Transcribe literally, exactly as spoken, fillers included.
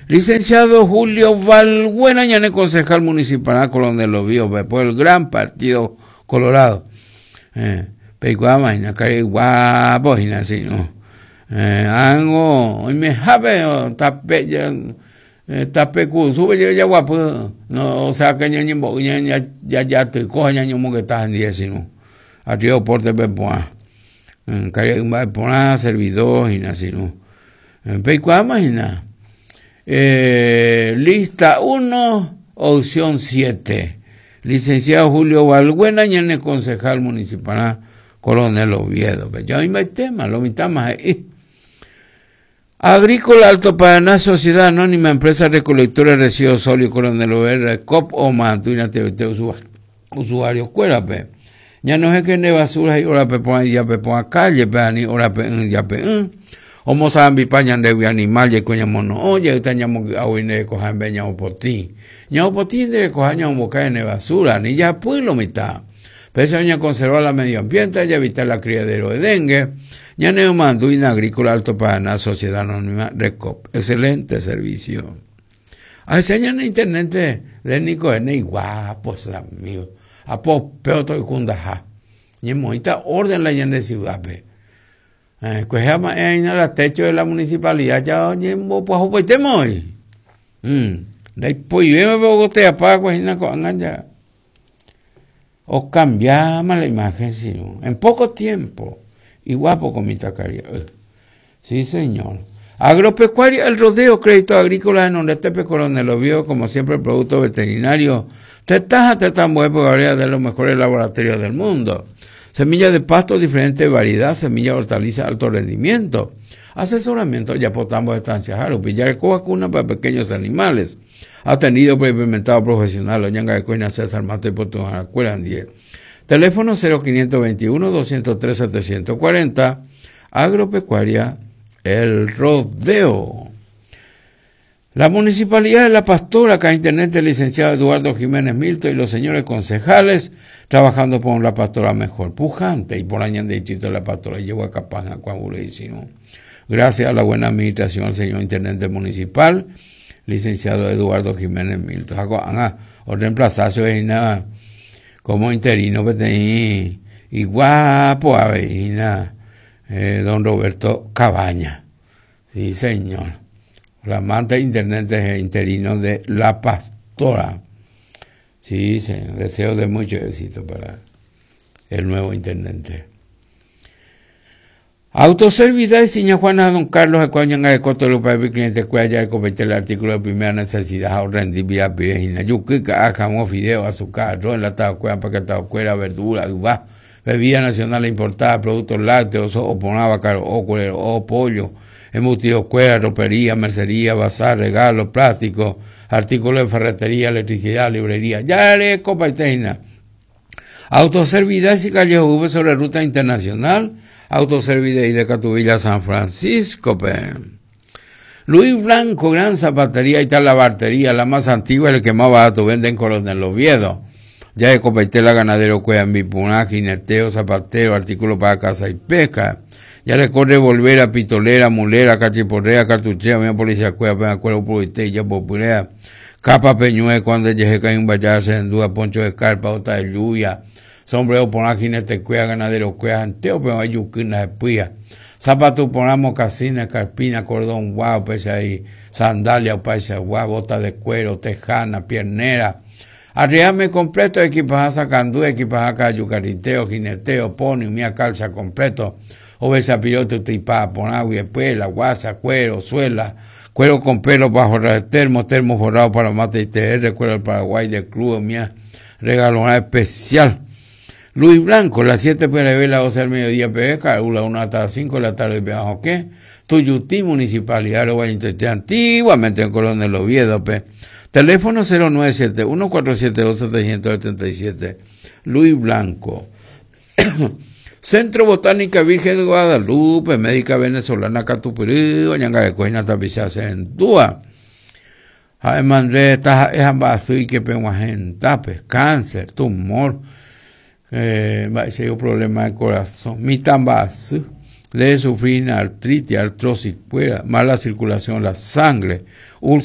Licenciado Julio Valbuena, ñane concejal municipal Coronel Oviedo, por el gran partido Colorado. Eh, peikuaáma hína karai guapo hína sino. Eh, ángo oimehápe tape tape kurusúpe jaguapy no, o sea que ñañembo'y jajatyko ha ñañomongeta hendive sino. Arriba porte pepu'ã. Karai mba'eporã servidor hína sino. Peikuaáma hína. Eh, lista uno, opción siete. Licenciado Julio Valbuena, ñane concejal municipal Coronel Oviedo. Ya hay tema, lo mitad más ahí. Agrícola Alto Paraná, Sociedad Anónima, Empresa Recolectora de Residuos Sólidos, Coronel Oviedo, C O P o Mantuina, T V T, usuario, cuérape. Ya no es que ne basura y ora pe pon ya pe pon calle pe ani ora pe ya pe Omo sambi pa ñande animal ye coña mono oye ta ñamo awine ko jambe ñamo poti. Ñamo poti de ko ñamo cae ne basura ni ya pueblo mitad. Pese a conservar la medio ambiente y evitar la criadero de dengue. Ñane Manduina Agrícola Alto Paraná, Sociedad Anónima Recop. Excelente servicio. A ese año en internet de Nico N guapos amigos. Apo peoto y kundaja. Ñemoita orden la ñane ciudad pe. Eh, pues llama en el techo de la municipalidad ya ñembo pues hoy. Mm. Dai pues me bogotea pa pues na ko ya. O cambiamos la imagen, sino en poco tiempo. Y guapo con mi tacaría. Sí, señor. Agropecuaria, El Rodeo, Crédito Agrícola en donde Coronel Oviedo, como siempre, producto veterinario. Tetaja, tetambuepo, de los mejores laboratorios del mundo. Semilla de pasto, diferente variedad, semilla de hortaliza, alto rendimiento. Asesoramiento, ya potamos de estancia, jaro, pillar vacuna para pequeños animales. Atendido por implementado profesional, Oñanga de Coina, César Mato y Puerto diez. Teléfono cero quinientos veintiuno, doscientos tres, setecientos cuarenta. Agropecuaria El Rodeo. La Municipalidad de La Pastora, acá intendente licenciado Eduardo Jiménez Milton y los señores concejales, trabajando por la pastora mejor, pujante y por año de distrito de La Pastora, llevo a Capaz, Gracias a la buena administración al señor intendente municipal, licenciado Eduardo Jiménez Milton. O reemplazazo nada como interino pues, y guapo a eh, don Roberto Cabaña. Sí, señor. Flamante intendente interino de La Pastora. Sí, señor. Deseo de mucho éxito para el nuevo intendente. Autoservidad y Señor Juana Don Carlos Acuña de Coto Lupa cliente cuya el comité el artículo de primera necesidad o rendibilidad virgina yuca, jamón, fideo, azúcar, arroz enlatado, cueva, paquetado, cuera, verdura, uva, bebida nacional importada, productos lácteos, o ponaba, o cuero, o pollo, embutido, cuera, ropería, mercería, bazar, regalo, plástico, artículos de ferretería, electricidad, librería, ya le copa y teina. Autoservidad y Callejo V sobre ruta internacional, Autoservidad y de Catubilla San Francisco. Pe. Luis Blanco, gran zapatería y tal la bartería, la más antigua y el que más barato vende en Coronel Oviedo. Ya de Copetela, ganadero, cueva, mipuná, jineteo, zapatero, artículo para caza y pesca. Ya le corre volver a pitolera, mulera, cachiporrea, cartuchera, mi policía, cueva, pena, cuero, purité, ya popurea, capa peñue, cuando llegue cae un vallase, en duda, poncho de carpa, otra de lluvia, sombrero por jinete, cueva, ganadero, cueva, anteo, pero hay yuquina de pía. Zapato por mocasines, carpina, cordón, guau, pese ahí, sandalia, paisa, guau, bota de cuero, tejana, piernera. Arriame completo, equipaje sacandú, equipaje cayucariteo, jineteo, pony, mía calza completo, obesa piloto, tipa, ponagua, espuela, guasa, cuero, suela, cuero con pelo bajo termo, termo forrado para mate y T R, cuero del Paraguay de club, mía, regalona especial. Luis Blanco, las siete P R B, las doce del mediodía, P B, la una hasta las cinco de la tarde, ¿qué? Tuyutí, Municipalidad de antiguamente en Coronel Oviedo, P. Teléfono cero nueve siete uno cuatro siete dos setecientos setenta y siete. Luis Blanco. Centro Botánica Virgen de Guadalupe, Médica Venezolana Catupirí, Oñanga de Coina Tapiza Serendúa. Además de esta es que pues, cáncer, tumor, eh, problema de corazón, mitambasú, debe sufrir artritis, artrosis, mala circulación de la sangre, úlcera.